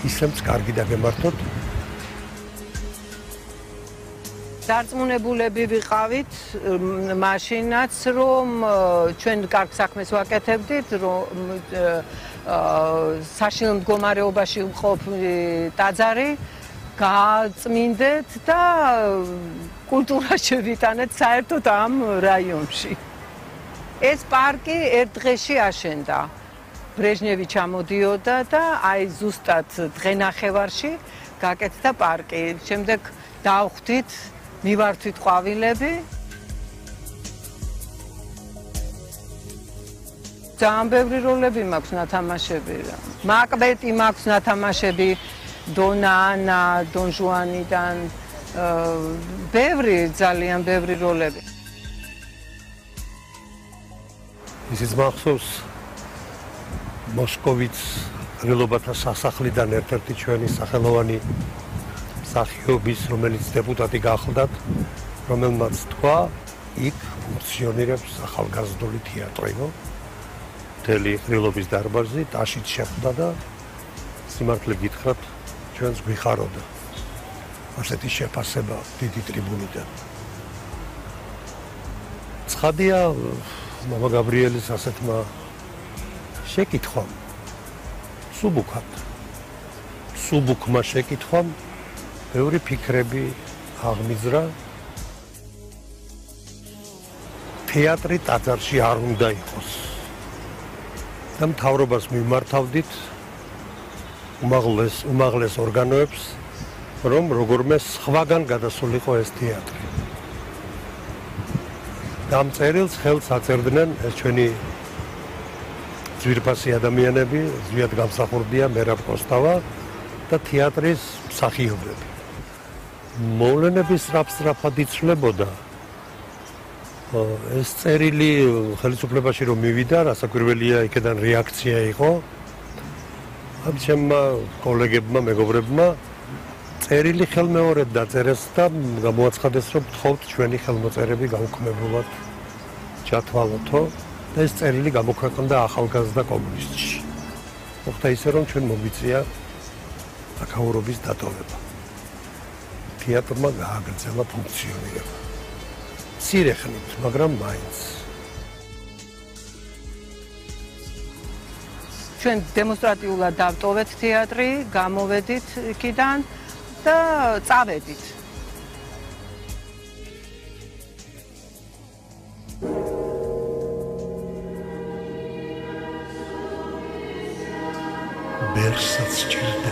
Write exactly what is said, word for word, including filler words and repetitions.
ისემც კარგი დაგემართოთ. დარწმუნებულები ვიყავით მაშინაც, რომ ჩვენ კარგ საქმეს ვაკეთებდით, რომ საშინელ მდგომარეობაში ვყოფ ტაძარი, გააწმინდეთ და კულტურა შევიტანეთ საერთოდ ამ რაიონში. ეს პარკი ერთ დღეში აშენდა. ბრეჟნევი ჩამოდიოდა და აი ზუსტად დღენახევარში გაკეთდა პარკი. შემდეგ დავხვდით, მივართვით ყვავილები. ძალიან ბევრი როლები მაქვს ნათამაშები. მაკბეტი მაქვს ნათამაშები დონა ანა, დონ ჟუანიდან. ბევრი, ძალიან ბევრი როლები. ისიც მახსოვს მოსკოვიც ღრილობათა სასახლიდან ერთ-ერთი ჩვენი სახელოვანი მსახიობის, რომელიც დეპუტატი გახლდათ, რომელმაც თქვა, იქ ფუნქციონირებს ახალგაზრდული თეატრიო, მთელი ღრილობის დარბაზი, ტაშით შეხვდა და სიმართლე გითხრათ, ჩვენს გვიხაროდა. ასეთი შეფასება დიდი ტრიბუნიდან. ცხადია, მამა გაბრიელის ასეთმა შეკითხვამ, სუბუქად, სუბუქმა შეკითხვამ ბევრი ფიქრები აღმიზრა. თეატრი ტაძარში არ უნდა იყოს. და მთავრობას მიმართავდით უმაღლეს უმაღლეს ორგანოებს, რომ როგორმე სხვაგან გადასულიყო ეს თეატრი. ამ წერილს ხელს აწერდნენ ეს ჩვენი ძვირფასი ადამიანები, ზვიად გამსახურდია მერაბ კოსტავა და თეატრის მსახიობები. მოვლენების სწრაფ-სწრაფად იცვლებოდა. ეს წერილი ხელისუფლებაში რომ მივიდა, რასაკვირველია, იქიდან რეაქცია იყო. ამ ჩემმა კოლეგებმა, მეგობრებმა წერილი ხელმეორედ დაწერეს და გამოაცხადეს, რომ გთხოვთ ჩვენი ხელმოწერები გაუქმებულად ჩათვალოთო და ეს წერილი გამოქვეყნდა ახალგაზრდა კომუნისტში. მოხდა ისე, რომ ჩვენ მოგვიწია აქაურობის დატოვება. თეატრმა გააგრძელა ფუნქციონირება. მცირე ხნით, მაგრამ მაინც. ჩვენ დემონსტრატიულად დავტოვეთ თეატრი, გამოვედით იქიდან და წავედით. ბერსაც ჭირდება